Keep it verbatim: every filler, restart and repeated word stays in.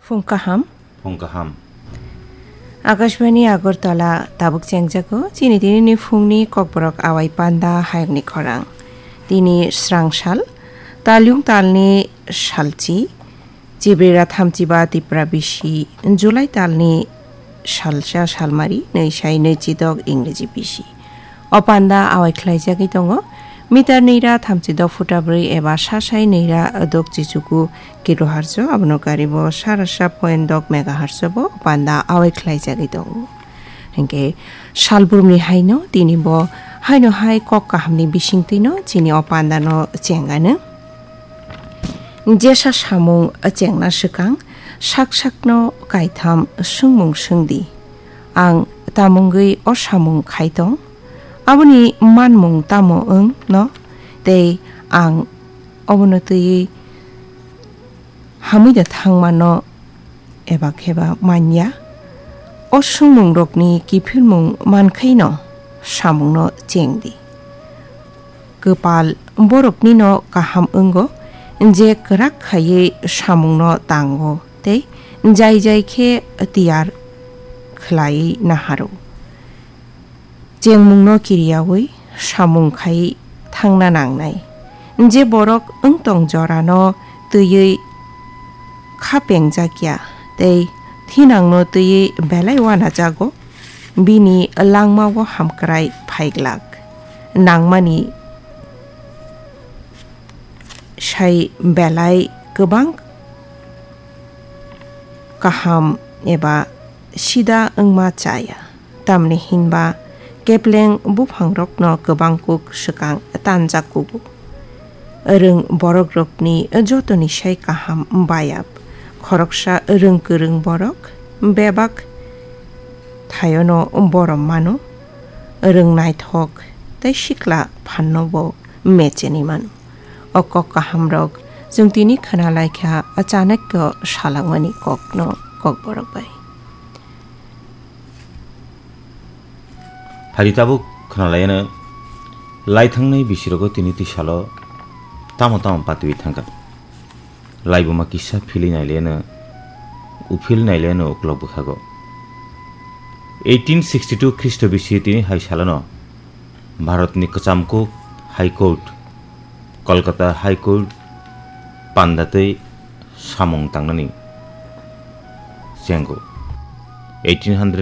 Phung kaham. Phung kaham. Akashbani Agartala tabuk chengjago, chini tinini phungni kokborok awai panda hayokni khorang. Tini srang sal, talyung talni salchi, Chibrira thamchiba Tipra bisi, July talni salsa salmari, nwi sai nwi chidok Ingreji bisi. O panda awai khlaijagwi tongo, meter nwi ra thamchidok futa bwrwi eba sa sai nwi ra dok chichuku kilohertz o, abono karibo sarasa point dok megahertz o bo o panda awai khlaijagwi tongo. Hinkhe salbrumni haino tini bo haino hai kok kahamni bisingtwino chini o pandano chengano. Jesa samung chengna swkang sak sakno kaitham swngmung swngdi. Ang tamungwi o samung khai tong? Aboni manmung tamo wng no? Tei ang obono twiwi hamwi da thangmano eba kheba manya? O swngmungrokni kiphilmung mankhaino samungno chengdi. Kwpal boroknino kaham wngo, je kwrak khaiwi samungno tango tei jai jai khe tiyar khlaiwi naharo. Chengmungno kiriyawi samung khai thangna nangnai. Je borok wngtong jorano twiwi kha pengjakya tei thinangno twiwi belai uanajago, bini langmao hamkrai phaiglak. Nangmani sai belai kwbang kaham eba sida wngma chaya. Tamni hinba kepleng buphangrokno kwbang kuk swkang tanjak kugo. Rwng borokrokni jotoni sai kaham bayap. Khoroksa rwng kwrwng borok bebak thaiono borom mano. Rwng naithok tei sikla phanno bo mecheni mano. O kok kahamrok chwng tini khna lai kha Chanakya salangmani kokno kokborok bai. Phari tabuk khna lai ano, lai thangnai bisirogo tini twi salo tamo tamo patwi thangkha. Laibuma kisa philwi nai le ano, uphil nai le ano uklok bwkhago. Eighteen sixty-two Khristo bisi tini hai salano Bharatni kwcham kuk High Court, Kolkata High Court panda twi samung tangnani chengo. Eighteen hundred